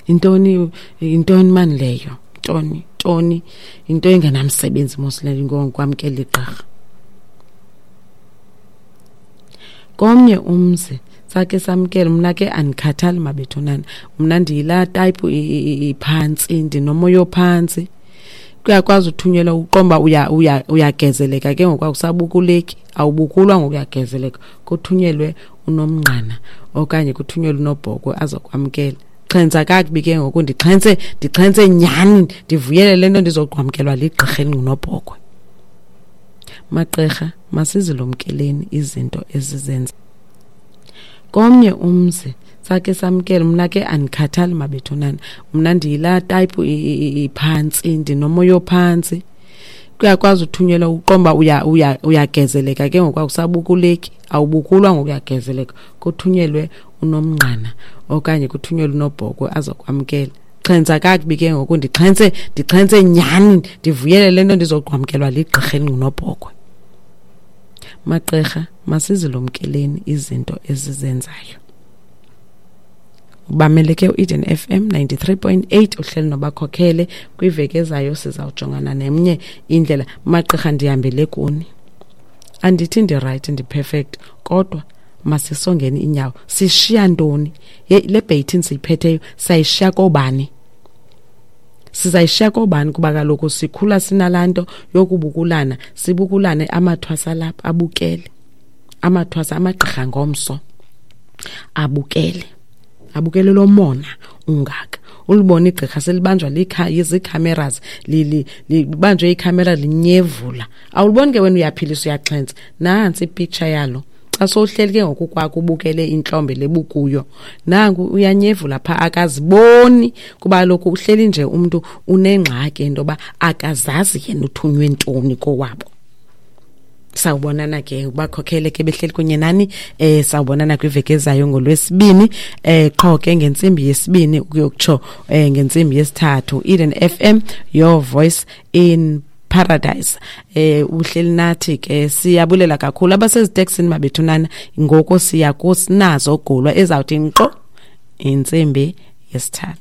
Yintoni, yintoni mani leyo? Ntoni, ntoni? Yinto engenamsebenzi mos leyo ngokwamkela igqirha. Komnye umzi sakhe samkela, mna ke andikhathali mabethunana, mna ndiyilaa type iphantsi, ndinomoya ophantsi. Kuyakwazi uthunyelwa uqomba uyagezeleka ke ngoku, akusabukuleki, awubukulwa ngoku, uyagezeleka. Kuthunyelwe unomngqana okanye kuthunyelwe unobhokwe azokwamkela. Xhentsa kakubi ke ngoku, ndixhentse, ndixhentse nyhani, ndivuyele le nto ndizokwamkelwa ligqirha elingunobhokwe. Magqirha, masizilumkeleni izinto ezizenza. Komnye umzi sakhe samkela, mna ke andikhathali mabethunana, mna ndiyilaa type iphantsi, ndinomoya ophantsi. Kuyakwazi uthunyelwa uqomba uyagezeleka ke ngoku, akusabukuleki, awubukulwa ngoku, uyagezeleka. Kuthunyelwe unomngqana okanye kuthunyelwe unobhokwe azokwamkela. Xhentsa kakubi ke ngoku, ndixhentse, ndixhentse nyhani, ndivuyele le nto ndizokwamkelwa ligqirha elingunobhokwe. Magqirha, masizilumkeleni izinto esizenzayo. Ubameleke uEden FM 93.8, uhleli nobakhokhele. Kwiveki ezayo sizawujongana nemnye indlela. Magqirha, ndihambele kuni, andithi ndirayithi, ndiperfect, kodwa masisongeni inyawo. Sishiya ntoni? Le bheyithini siyiphetheyo sayishiya koobani? Sizayishiya koobani? Kuba kaloku sikhula sinalaa nto yokubukulana, sibukulane, amathwasa lapha abukele, amathwasa, amagqirha ngomso abukele, abukele lo mona ungaka. Ulibona igqirha selibanjwa zii-cameras, libanjwe ikhamera linyevula. Awuliboni ke wena uyaphilisa, uyaxhentsa. Nantsi ipicture yalo xa sowuhleli ke ngoku kwakho ubukele intlombe lebukuyo, nanku uyanyevula phaa, akaziboni kuba kaloku uhleli nje umntu unengxaki into yoba akazazi yena uthunywe ntoni kowabo. Sawubonana ke, ubakhokhele ke behleli kunye nani. Sawubonana kwiveki ezayo ngolwesibini, qho ke ngentsimbi 2 ukuyokutsho ngentsimbi 3. Eden FM, your voice in paradise. Uhleli nathi ke, siyabulela kakhulu. Abaseziteksini mabethunana, ngoku siya kusinazo gulwa ezawuthi nkqo intsimbi 3.